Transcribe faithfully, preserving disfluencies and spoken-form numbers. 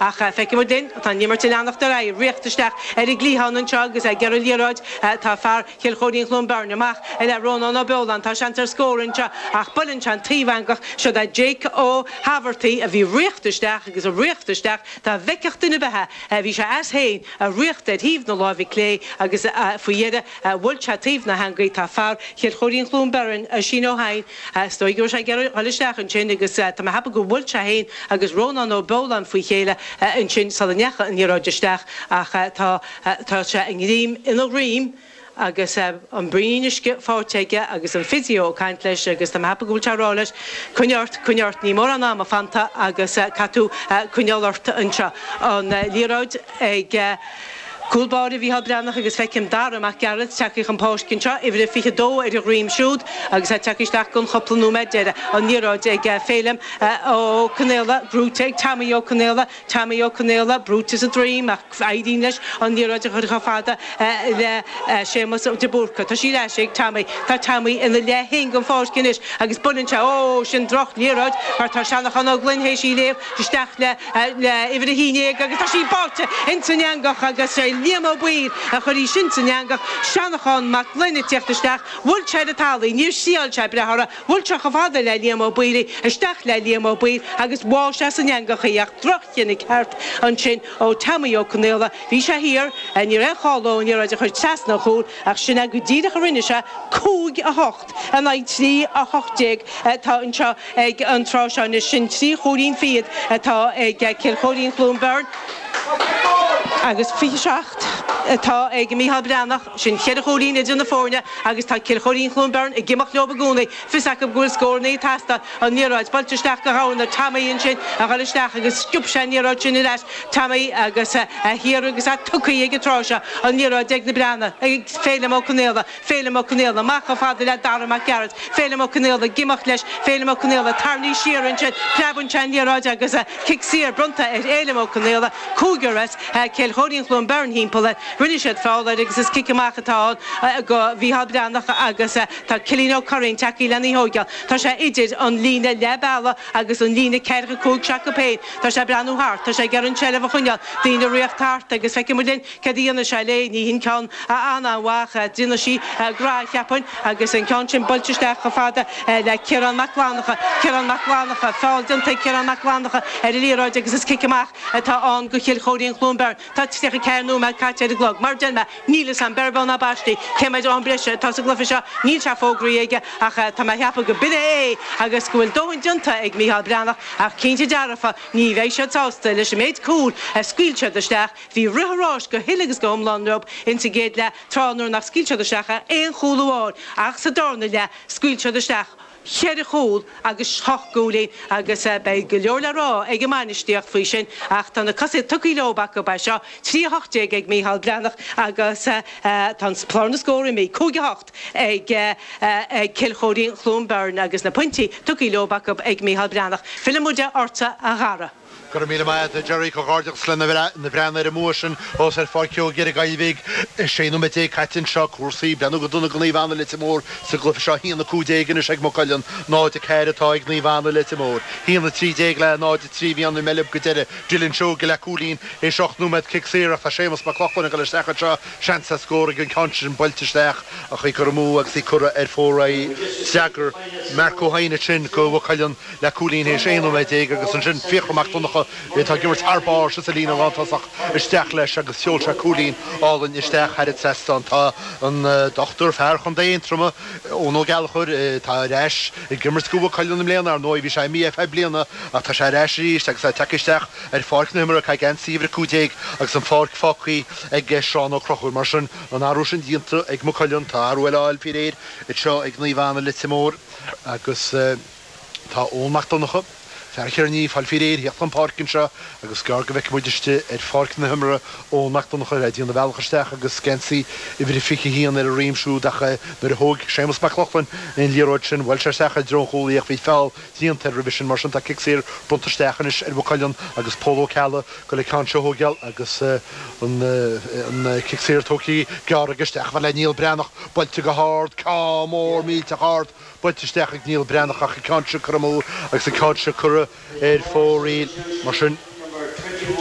Ach feicfidh muid linn, tá an imirt ag leanacht ar aghaidh, riocht isteach ar an gcliathán anseo agus ag iarraidh liathróid tá fear Chill Chóirín Chluain Bheirn amach le Rónán Ó Beoláin. Tá seans ar scór anseo ach buaileann sé an taobh-eangach. Siod é Jake Ó hAbhartaigh a bhí riocht isteach agus a riocht isteach dá bhfeicfeadh duine ar bith é. Bhí sé as féin ag riocht ar thaobh na láimhe clé agus faoi dheireadh bhuail sé taobh na heangaí. Tá fear Chill Chóirín Chluain Bheirn, Oisín Ó hEidhin, is dóigh go raibh sé ag iarraidh dul isteach ansin agus tá mé ag ceapadh gur bhuail sé féin agus Rónán Ó Beoláin faoi chéile ansin sula ndeachaigh an liathróid isteach ach tá tá sé i ngreim ina dhroim agus an braon uisce faighte aige agus an physio ag caint leis agus tá mé ag ceapadh go bhfuil sé ag rá leis, coinnigh ort, coinnigh ort, níl mórán ama fanta agus caithfidh tú coinneáil ort anseo. An liathróid ag cúl báire Mhícheál Breathnach agus feicim Dara Mac Gearailt tagtha chun páirce anseo, uimhir a fiche dó ar a dhroim siúd agus é tagtha isteach don chúpla nóiméad deiridh. An liathróid ag Féilim Ó Conaola, brúite ag Tommy Ó Conaola, Tommy Ó Conaola brúite sa droim ach éiríonn leis an liathróid a chur chomh fada le Séamus de Búrca. Tá sí ar ais ag Tommy. Tá Tommy ina leath féin den pháirc anois agus buaileann sé, ó, sin droch liathróid mar tá Seanachán Ó Gloinn théis í léamh isteach le le uimhir a haon déag agus tá sí báite ins an eangach agus sé Liam Ó Baoill a chuir í sin san eangach. Seanachán Mac Gloinn ag tíocht isteach, bhuail sé ar an talamh, níor thriáil sé breith orthu, bhuail sé chomh fada le Liam Ó Baoill í, isteach le Liam Ó Baoill agus bháigh sé san eangach í ach droch-chinneadh ceart ansin ó Tommy Ó Conaola. Bhí sé thiar, ní raibh aon chall dó an liathróid a chur trasna an chúil ach sin é go díreach a rinne sé, cúig a hocht in aghaidh trí a hocht déag atá anseo ag an tráth seo anois. Sin trí chúilín fichead atá ag Cill Chóirín Chluain Bheirn agus fiche seacht atá ag Mícheál Breathnach. Sin ceithre chúilín idir na foirne agus tá Cill Chóirín Chluain Bheirn ag imeacht leo i gcónaí. Fios acu go bhfuil scóranna ag teastáil. An liathróid buailte isteach go Ghamhna. Tommy ansin a dhul isteach agus sciob sé an liathróid sin ar ais. Tommy agus é thiar agus é tugtha ag an tráth seo. An liathróid ag na Breathnaigh, ag Féilim Ó Conaola. Féilim Ó Conaola amach chomh fada le Dara Mac Gearailt. Féilim Ó Conaola ag imeacht leis. Féilim Ó Conaola tarraingthe siar ansin. Preabann sé an liathróid agus cic saor bronnta ar Fhéilim Ó Conaola. Cúigear as Cill Chóirín Chluain Bheirn thimpeall air. Rinne siad feall air agus is cic amach atá ann go Mhícheál Breathnach agus tá Cillian Ó Curraoin tagtha lena thógáil. Tá sé idir an líne leath bealaigh agus an líne ceathracha cúig s'acu féin. Tá sé ag breathnú thart. Tá sé ag iarraidh an tseilbh a choinneáil. Daoine ag riocht thart agus feicfidh muid linn céard a dhéanfaidh sé léi. Ní hin ceann an-mhaith. Déanfaidh sí grá, cheapfainn, agus an ceann sin buailte isteach chomh fada le Ciarán Mac Fhlannchadha. Ciarán Mac Fhlannchadha. Feall déanta ag Ciarán Mac Fhlannchadha ar an liathróid agus is cic amach atá ann go Chill Chóirín Chluain Bheirn. Tá tríocha ceathair nóiméad caite ar an gclog. Mar a deir mé, níl fhios a'm, beir beo ná baistí, cé mhéad am breise atá sa gcluiche seo. Níl sé fógraithe aige ach tá mé a cheapadh go b'in é agus go bhfuil dóthain déanta ag Mícheál Breathnach ach cinnte dearfa ní bheidh siad sásta leis an méid cúl a scaoil siad isteach. Bhí rith an ráis go huile agus go hiomlán leo insa gcéad leath, tráth nuair nach scaoil siad isteach ach aon chúl amháin ach sa darna leath scaoil siad isteach cheithre chúl agus hocht gcúilín agus beidh go leor le rá ag an mbainistíocht faoi sin ach tá na cosa tugtha leo acu é seo, trí a hocht déag ag Mícheál Breathnach agus tá an clár na scór imithe, cúig a hocht ag Cill Chóirín Chluain Bheirn agus na pointí tugtha leo acu ag Mícheál Breathnach. Fillfidh muid ortsa a Dhara. Go raibh míle maith agat, a Gerry. Comhghairdeachas le na Breathnaigh ar an mbua sin thuas ar Pháirc Joe Ghearr Gaillmhigh. Sé nóiméad déag caite anseo. Cúrsaí ag breathnú go dona do Naomh Anna Leitir Móir sa gcluiche seo. A haon a cúig déag anois ag Maigh Cuilinn. náid a ceathair atá ag Naomh Anna Leitir Móir. A haon a trí déag le náid a trí a bhí ann i mBeilb go deireadh. Dylan Seoige le cúilín théis ocht nóiméad cic saor ach tá Séamus Mac Lochlainn ag dul isteach anseo. Seans ar scór ag an ceann sin buailte isteach ach í curtha amú agus í curtha ar fóraoil. D'fhreagair Mark Ó hEidhin ansin do Mhaigh Cuilinn le cúilín théis aon nóiméad déag agus ansin Fiachra Mac Donncha atá ag imirt thar barr sa líne lántosach isteach leis agus sheol sé cúilín álainn isteach thar an trasnán. Tá an dochtúir, fear Chontae Aontroma, Eoin Ó Gallchóir, atá ar ais ag imirt do Mhaigh Cuilinn i mbliana, ar ndóigh bhí sé imithe ar feadh bliana ach tá sé ar ais arís agus é tagtha isteach ar pháirc na himeartha, ag caitheamh geansaí uimhir a cúig déag agus an pháirc fágtha ag Seán Ó Conchúir. Mar sin, an athrú sin déanta ag Maigh Cuilinn, tá athrú eile á fháil faoi réir anseo ag Naomh Anna Leitir Móir agus. Tá Eoin Mac Donncha, fear Chiarraí, ag fáil faoi réir theacht chun páirce anseo agus is gearr go bhfeicfidh muid istigh ar pháirc na himeartha Eoin Mac Donncha ag déanamh a bhealach isteach agus geansaí uimhir a fiche a haon ar a dhroim siúd ach nuair a thóg Séamus Mac Lochlainn an liathróid sin bhuail sé isteach i dtreo an chúil í ach bhí feall déanta air roimhe sin. Mar sin tá cic saor bronnta isteach anois ar Mhaigh Cuilinn agus Pól Ó Ceallaigh ag goil an ceann seo a thógáil agus an cic saor tógtha gearr aige isteach le Niall Breathnach buailte go hard, ceann mór millteach ard. Buailte isteach ag Niall Breathnach ach an ceann seo curtha amú agus an ceann seo curtha ar fóraoil. Mar sin,